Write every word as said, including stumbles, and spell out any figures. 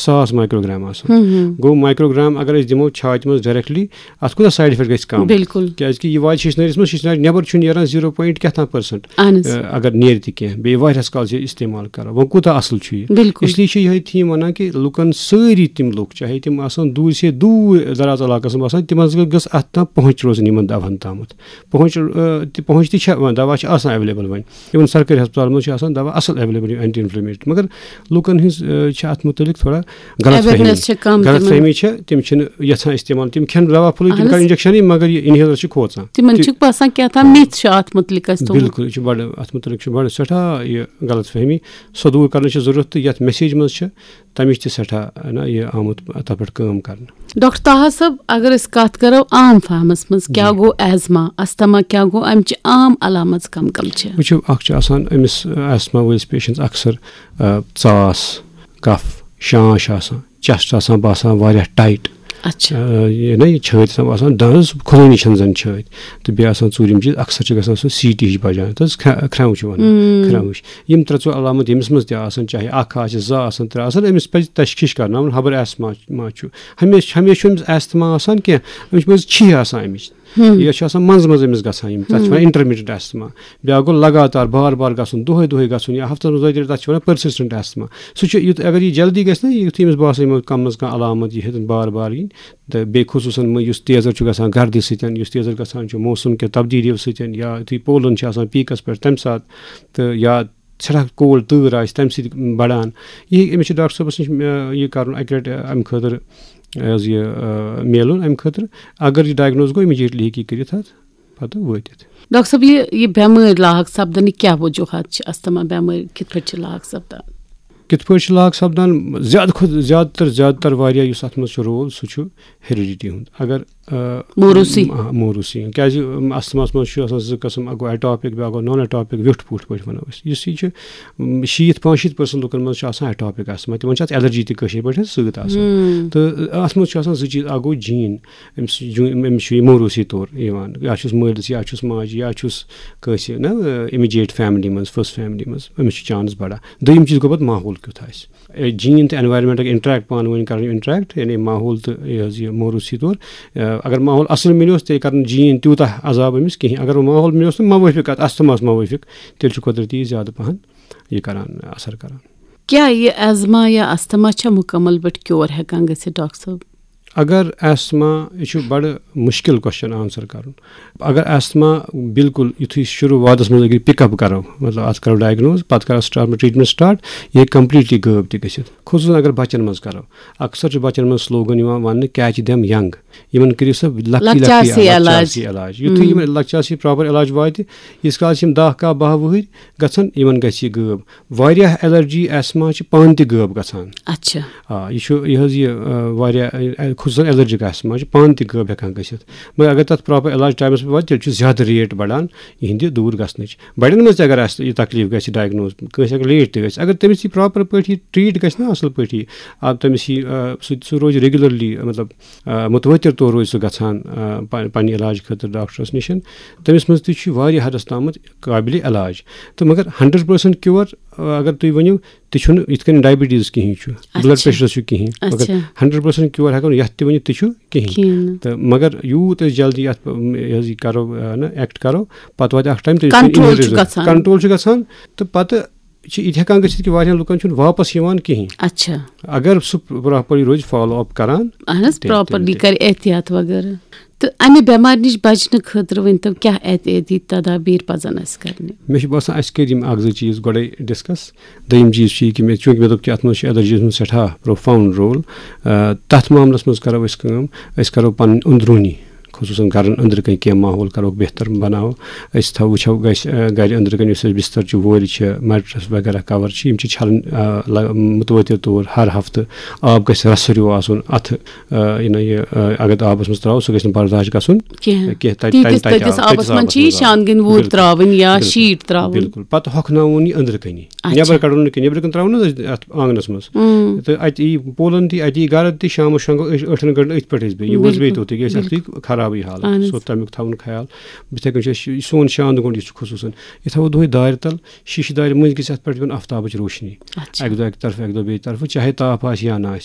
ساس مایکروگرام آسان۔ گوٚو، مایکروگرام اگر أسۍ دِمو چھاتہِ منٛز ڈائریکٹلی، اَتھ کوٗتاہ سائیڈ افیکٹ گژھِ کم؟ بِلکُل۔ کیازِ کہِ یہِ واتہِ شیشنٲرِس منٛز، شیشنارِ نٮ۪بر چھُنہٕ نیران زیٖرو پوینٹ کیٛاہ تام پٔرسنٹ۔ اہن حظ۔ اگر نیرِ تہِ کینٛہہ، بیٚیہِ واریاہس کالس یہِ استعمال کرو، وۄنۍ کوٗتاہ اصل چھُ یہِ؟ بِلکُل۔ اس لیے چھِ یِہے تھیم ونان کہِ لُکن، سٲری تِم لُکھ، چاہے تِم آسن دوٗر سے دوٗر دراز علاقس منٛز آسان، تِمن گٔژھ اتھ تام پہنچ روزٕنۍ، یِمن دوہن تامتھ۔ پہنچ، آ، تہِ پہنچ تہِ چھےٚ، وۄنۍ دوا چھِ آسان اویلیبل وۄنۍ۔ اِون سرکٲرۍ ہسپتالن منٛز چھِ آسان دوا اصل اویلیبل، اینٹی انفلیمیٹری، مگر لُکن ہٕنٛز، آ، چھِ اتھ متعلق تھوڑا غلط فہمی۔ Awareness چھِ کم غلط تِمن۔ فہمی چھِ، تِم چھِنہٕ یژھان استعمال، تِم کھٮ۪ن دوا پھوٚلُے، تِم اہن کران حظ۔ انجیکشنٕے، مگر یہِ انہیلر چھِ کھوژان۔ تِمن تہِ چھُکھ باسان کیٛاہ تام myth چھُ اتھ متعلق اَسہِ تھوٚومُت۔ بِلکُل، یہِ چھُ بڑٕ، اتھ متعلق چھُ بڑٕ سٮ۪ٹھاہ یہِ غلط فہمی۔ سۄ دوٗر کرنٕچ چھِ ضروٗرت، تہٕ یتھ میسیج منٛز چھِ تمِچ تہِ سٮ۪ٹھاہ، نہ، یہِ آمُت تتھ پٮ۪ٹھ کٲم کرنہٕ۔ ڈاکٹر طاہر صٲب، اگر أسۍ کتھ کرو عام فہمس منٛز، کیٛاہ جی۔ گوٚو ایزما، استھما کیٛاہ گوٚو، امچہِ عام علامژ کم کم چھِ؟ وٕچھِو، اکھ چھُ آسان أمِس، آ، ایزما وٲلِس پیشنٹس اکثر، آ، ژاس، کف، شانش آسان، چیسٹ آسان باسان واریاہ ٹایٹ۔ اچھا۔ آ، یہِ نہ، یہِ چھٲتۍ آسان باسان دنٛد کھُلٲنی چھنہٕ زن چھٲتۍ۔ تہٕ بیٚیہِ آسان ژوٗرِم چیٖز، اکثر چھِ گژھان سُہ سی ٹی ہِش بجان، تہٕ حظ کھرٛ-، کھرٛٮ۪و چھُ ونان، کھرٛٮ۪و ہِش۔ یِم ترٛےٚ ژور علامت ییٚمِس منٛز تہِ آسن، چاہے اکھ آسہِ، زٕ آسن، ترٛےٚ آسن، أمِس پزِ تشخیٖص کرناوُن، خبر ایسما ما چھُ۔ ہمیشہِ، ہمیشہِ چھُ أمِس ایستھما آسان کینٛہہ، أمِس چھُ مٔنٛزۍ چھِہہ آسان اَمِچ۔ یا چھُ آسان منٛزٕ منٛزٕ أمِس گژھان یِم، تَتھ چھِ وَنان انٹرمیٹنٹ ایستھما۔ بیٛاکھ گوٚو لگاتار بار بار گژھُن، دۄہَے دۄہَے گژھُن یا ہفتَس منٛز دۄیہِ تَرِ، تَتھ چھِ وَنان پٔرسِسٹنٹ ایستھما۔ سُہ چھُ یُتھ، اگر یہِ جلدی گژھِ نا، یُتھُے أمِس باسان یِمو کَم منٛز کانٛہہ علامت یہِ ہیٚتن بار بار یِنۍ، تہٕ بیٚیہِ خصوٗصاً مٔ-، یُس تیزر چھُ گژھان گردِ سۭتۍ، یُس تیزر گژھان چھُ موسم کہِ تبدیٖلیو سۭتۍ، یا یُتھُے پولن چھِ آسان پیٖکَس پٮ۪ٹھ، تَمہِ ساتہٕ، تہٕ یا سٮ۪ٹھاہ کولڈ تۭر آسہِ، تَمہِ سۭتۍ بَڑان۔ یہِ ہیٚکہِ، أمِس چھُ ڈاکٹر صٲبَس نِش، آ، یہِ کَرُن اَکہِ لَٹہِ، آ، اَمہِ خٲطرٕ، آ، حظ یہِ، آ، میلُن اَمہِ خٲطرٕ۔ اگر یہِ ڈایگنوز گوٚو، اِمیٖڈیٹلی ہیٚکہِ یہِ کٔرِتھ اَتھ پَتہٕ وٲتِتھ۔ ڈاکٹر صٲب، یہِ، یہِ بٮ۪مٲرۍ لاحق سپدنٕکۍ کیٛاہ وجوٗہات چھِ؟ استھما بٮ۪مٲرۍ کِتھ پٲٹھۍ چھِ لاحق سپدان؟ کِتھ پٲٹھۍ چھِ لاحق سپدان؟ زیادٕ کھۄتہٕ زیادٕ تر، زیادٕ تر واریاہ یُس اَتھ منٛز چھُ رول، سُہ چھُ ہیریڈیٹی ہُنٛد۔ اگر، آ، موروثی۔ آ، موروثی ہُنٛد۔ کیٛازِ، ام، استھماہَس منٛز چھُ آسان زٕ قٕسم، اَکھ گوٚو ایٹاپِک، بیٛاکھ گوٚو نان ایٹاپِک، ویوٚٹھ پوٗٹھ پٲٹھۍ وَنو أسۍ۔ یُس یہِ چھُ، ام، شیٖتھ پانٛژھ شیٖتھ پٔرسنٹ لُکَن منٛز چھُ آسان ایٹاپِک استھما، تِمَن چھِ اَتھ ایلرجی تہِ کٲشِر پٲٹھۍ سۭتۍ آسان۔ تہٕ اَتھ منٛز چھُ آسان زٕ چیٖز، اَکھ گوٚو جیٖن، أمِس چھُ جوٗ-، أمِس چھُ یہِ موروثی طور یِوان، یا چھُس مٲلِس، یا چھُس ماجہِ، یا چھُس کٲنٛسہِ نا، اِمیٖڈیٹ فیملی منٛز، فٔسٹ فیملی منٛز، أمِس چھُ چانس بڑان۔ دوٚیِم چیٖز گوٚو پتہٕ ماحول کیُتھ آسہِ۔ اے، جیٖن تہٕ انوائرمنٹ اگر انٹریکٹ پانہٕ ؤنۍ کرن انٹریکٹ، یعنی ماحول تہٕ یہِ حظ یہِ موروثی طور، اے، اگر ماحول اصل مِلیوس، تیٚلہِ کرن جیٖن تیوٗتاہ عذاب أمِس کِہیٖنۍ۔ اگر ماحول مِلیوس نہٕ موٲفِق، اتھ استھماہس موٲفِق، تیٚلہِ چھُ قۄدرتی یہِ زیادٕ پہن یہِ کران، اثر کران۔ کیٛاہ یہِ ایزما یا استھما چھا مُکمل پٲٹھۍ کیور ہٮ۪کان گٔژھِتھ، ڈاکٹر صٲب؟ اگر ایسما، یہِ چھُ بڑٕ مُشکِل کوسچن آنسر کرُن۔ اگر ایسما بالکل یُتھُے شروٗعاتس منٛز اگر پِک اپ کرو، مطلب اتھ کرو ڈائگنوز، پتہٕ کرو سٹارٹ ٹریٹمنٹ سٹارٹ، یہِ ہیٚکہِ کمپلیٹلی غٲب تہِ گٔژھِتھ۔ خصوٗصاً اگر بچن منٛز کرو، اکثر چھُ بچن منٛز سلوگن یِوان وننہٕ، کیچ دیم ینگ، یِمن کٔرِو سا لۄکٹی لۄکچارسٕے لۄکٹی علاج۔ لۄکچارسٕے علاج۔ یُتھُے یِمن لۄکچارسٕے پراپر علاج واتہِ، ییٖتِس کالس یِم دَہ کاہ باہ وُہٕرۍ گژھن، یِمن گژھِ یہِ غٲب۔ واریاہ الرجی ایسما چھِ پانہٕ تہِ غٲب گژھان۔ اچھا۔ آ، یہِ چھُ، یہِ حظ یہِ، آ، واریاہ، آ، خصوٗصاً الرجک ایسما چھِ پانہٕ تہِ غٲب ہٮ۪کان گٔژھِتھ۔ مگر اگر تَتھ پراپر علاج ٹایمَس پٮ۪ٹھ واتہِ، تیٚلہِ چھُ زیادٕ ریٹ بڑان یِہِنٛدِ دوٗر گژھنٕچ۔ بڑٮ۪ن منٛز تہِ اگر اَسہِ یہِ تکلیٖف گژھِ ڈائگنوز، کٲنٛسہِ اگر لیٹ تہِ گژھِ، اگر تٔمِس یہِ پراپر پٲٹھۍ یہِ ٹریٖٹ گژھِ نا اَصٕل پٲٹھۍ، آ، تٔمِس یہِ، آ، سُہ، سُہ روزِ ریگولرلی، مطلب، آ، متوٲتِر طور روزِ سُہ گژھان، آ، پن-، پننہِ علاج خٲطرٕ ڈاکٹرَس نِش، تٔمِس منٛز تہِ چھُ واریاہ حدس تامَتھ قابلِ علاج۔ تہٕ مگر ہنڈریڈ پٔرسنٹ کیور، آ، اگر تُہۍ ؤنِو، تہِ چھُنہٕ یِتھ کٔنۍ ڈائبٹیز کِہیٖنۍ چھُ، اچھا۔ بلڈ پریشرَس چھُ کِہیٖنۍ۔ مگر اچھا۔ ہنڈریڈ پٔرسنٹ کیور ہٮ۪کو نہٕ یَتھ تہِ ؤنِتھ، تہِ چھُ کِہیٖنۍ۔ کِہیٖنۍ نہٕ۔ تہٕ مگر یوٗت أسۍ جلدی یَتھ، یہِ حظ یہِ کَرو، آ، نہ، ایکٹ کَرو، پَتہٕ واتہِ اَکھ ٹایم، تیٚلہِ چھُ کنٹرول چھُ inheritance گژھان۔ کنٹرول چھُ گژھان، تہٕ پَتہٕ چھِ یِتہِ ہٮ۪کان گٔژھِتھ کہِ واریاہَن لُکَن چھُنہٕ واپَس یِوان کِہیٖنۍ۔ اچھا۔ اگر سُہ پراپرلی روزِ فالو اپ کران، اہن حظ، تیٚلہِ، پراپرلی تیٚلہِ۔ کرِ احتیاط وغیرہ۔ تہٕ امہِ بٮ۪مارِ نِش بچنہٕ خٲطرٕ ؤنۍ تو، کیٛاہ احتیاطی تدابیر پزن اسہِ کرنہِ؟ مےٚ چھُ باسان، اسہِ کٔرۍ یِم اکھ زٕ چیٖز گۄڈے ڈسکس۔ دوٚیِم چیٖز چھُ یہِ کہِ مےٚ، چوٗنٛکہِ مےٚ دوٚپ کہِ اتھ منٛز چھُ الرجیز ہُنٛد سٮ۪ٹھاہ پروفاؤنڈ رول۔ آ، تتھ معاملس منٛز کرو أسۍ کٲم، أسۍ کرو پنٕنۍ أنٛدروٗنی، خصوٗصاً گرن أنٛدرٕ کنۍ کینٛہہ ماحول کروکھ بہتر بناوو۔ أسۍ تھاو، وٕچھو گژھِ، آ، گرِ أنٛدرٕ کنۍ یُس اَسہِ بستر چھُ، وورِ چھِ، میٹرس وغیرہ کور چھِ، یِم چھِ چھلٕنۍ، آ، لگ-، متوٲتِر طور ہر ہفتہٕ۔ آب گژھِ رسہٕ ہیوٗ آسُن اتھٕ، آ، یہِ نہ یہِ، آ، اگر آبس منٛز ترٛاوو، سُہ گژھِ نہٕ برداش گژھُن کینٛہہ۔ کینٛہہ۔ تتہِ، تیٖتِس تتہِ، تتہِ تٔتِس آب، آبس تٔتِس منٛز آبس چھِ یہِ منٛز آب۔ شانٛدگٔنۍ وورۍ بِلکُل۔ ترٛاوٕنۍ یا بِلکُل۔ شیٖٹ ترٛاوُن۔ بِلکُل۔ پتہٕ ہۄکھناوُن یہِ أنٛدرٕ کنی۔ اچھا۔ نٮ۪بر کڑو نہٕ کینٛہہ، نٮ۪برٕ کنہِ ترٛاوو نہٕ أسۍ اتھ آنگنس منٛز۔ اۭں۔ تہٕ اتہِ یی پولن تہِ، اتہِ یی گرد تہِ، شامس شۄنٛگو أسۍ ٲٹھن گنٹن أتھۍ پٮ۪ٹھ أسۍ بیٚیہِ۔ یہِ ووت بیٚیہِ بِلکُل۔ توٚتُے، گژھِ اتھ بِلکُل۔ تُہۍ خرابٕے حالت۔ اہن حظ۔ سُہ تمیُک تھاوُن خیال۔ یِتھے کٔنۍ چھُ اَسہِ یہِ سون شاند گوٚنٛڈ یُس چھُ خصوٗصن، یہِ تھاوو دۄہے دارِ تل، شیٖشہٕ دارِ مٔنٛزۍ گژھِ اتھ پٮ۪ٹھ پیوٚن آفتابٕچ روشنی۔ اچھا۔ اکہِ دۄہ اکہِ طرفہٕ، اکہِ دۄہ بیٚیہِ طرفہٕ، چاہے تاپھ آسہِ یا نہ آسہِ۔